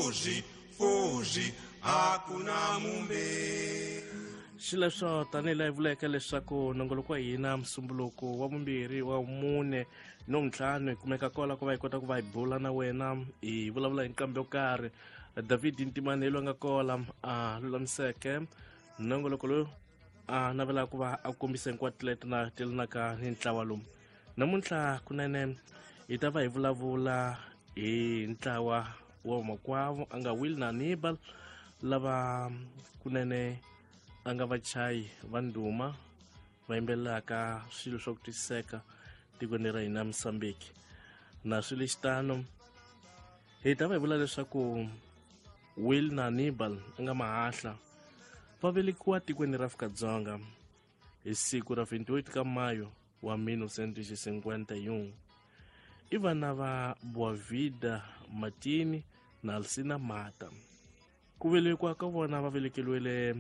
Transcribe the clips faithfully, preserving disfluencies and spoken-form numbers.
Fuji, fuji, hakuna mumbe. Xileswo tanihi laha hi vuleke leswaku nongoloko wa hina musumbuluko wa vumbirhi wa mune no ntlhanu hi kumeka kola ku va hi kota ku va hi bula na wena hi vulavula hi nqambi yo karhi. David Ntimane hi loyi a nga kola a lulamiseke nongoloko lowu a navelaka ku va a kombisa hinkwato leti na telanaka ni ntlawa lowu. Namuntlha kunene hi ta va hi vulavula hi ntlawa wa makwavo a nga Will na Hannibal lava kunene a nga vachayi va ndhuma va yimbelelaka swilo swa ku twisiseka tikweni ra hina Mozambique. Na swi lexitano hi ta va hi vula leswaku Will na Hannibal a nga mahahla va velekiwa tikweni ra Afrika-Dzonga hi siku ra twenty-eight ka Mayo wa mille neuf cent cinquante et un. I vana va Boavida Martini na Alcina Mata. Ku velekiwa ka vona va velekeriwile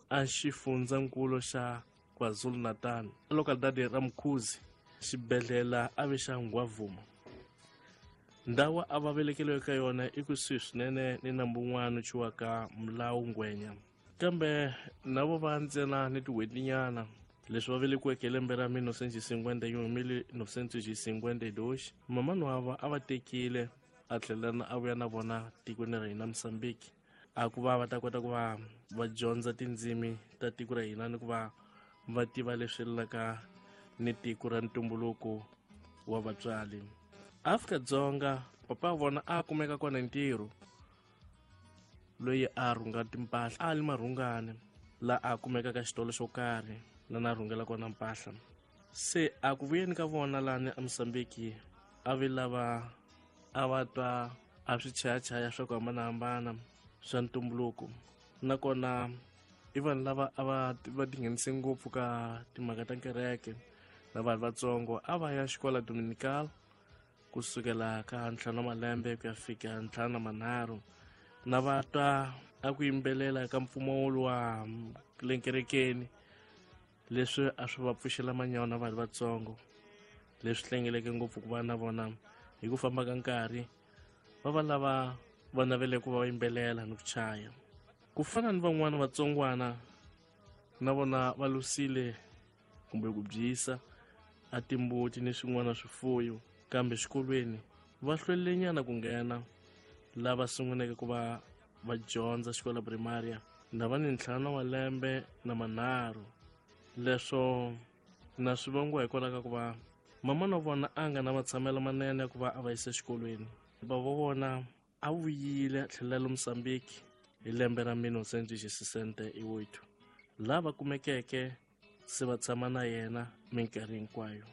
a xifundzankulu xa KwaZulu-Natal, localidade ra Mkhuzi, xibedhlele a ve xa Ngwavuma. Ndhawu a va velekeriwe ka yona i kusuhi swinene ni nambu wun'wana wu thyiwaka Mulawu Ngwenya. Kambe na vo va ntsena ni tin'hwetinyana leswi va velekiweke hi lembe ra mille neuf cent cinquante et un, mille neuf cent cinquante deux, mamani wa va a va tekile a tlhela a vuya na vona tikweni ra hina Mozambique, a ku va va ta kota ku va va dyondza tindzimi ta tiko ra hina ni ku va va tiva leswi laka ni tiko ra ntumbuluko wa vatswari. Afrika-Dzonga papa wa vona a kumeka kona ntirho loyi a rhunga timpahla a li marhungane la a kumeka ka xitolo xo karhi la na rhungela kona mpahla. Se a ku vuyeni ka vona lani a Mozambique a vi lava a va twa a swi chayachaya swa ku hambanahambana swa ntumbuluko, nakona i vanhu lava a va va tinghenise ngopfu ka timhaka ta kereke na vanhu vatsongo. A va ya xikola Dominical kusukela ka ntlhanu wa malembe ku ya fika ntlhanu na manharhu, na va twa a ku yimbelela ka mpfumawulo wa le kerekeni leswi a swi va pfuxela manyawa na vanhu vatsongo, leswi hlengeleke ngopfu ku va na vona hi ku famba ka nkarhi va va lava va navele ku va va yimbelela ni ku chaya. Ku fana ni van'wana vatsongwana na vona va lusile kumbe ku byisa a timbuti ni swin'wana swifuyo, kambe xikolweni va hlwelenyana ku nghena. Lava sunguleke ku va va dyondza xikolo primaria na va ni ntlhanu wa lembe na manharhu. Leswo na swi vangiwa hikwalaho ka ku va mama na vona a nga na matshamelo manene ya ku va a va yisa exikolweni. Bava wa vona a vuyile a tlhelela le Mozambique hi lembe ra mille neuf cent sesenta e oito, laha va kumekeke se va tshama na yena minkarhi hinkwayo.